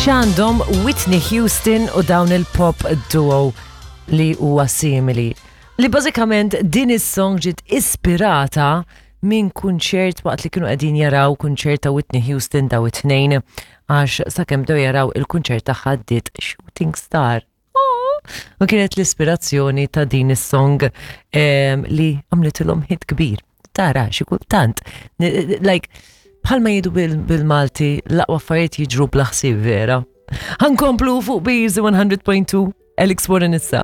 X'għandhom Whitney Houston u dawn il-pop duo li huwa simili. Li bażikament din is-song ġiet ispirata minn kunċert waqt li kienu qegħdin jaraw kunċert ta' Whitney Houston daw it-tnejn għax sakemm bdew jaraw il-kunċert tagħha ddiet Shooting Star. U kienet l-ispirazzjoni ta' din is-song li għamlitilhom hit kbir. Tara, xi kultant. Like, bħalma jgħidu bil-Malti, l-aqwa affarijiet jiġru bla ħsieb vera. Ħankomplu fuq Beers 100.2 Alex Warren issa.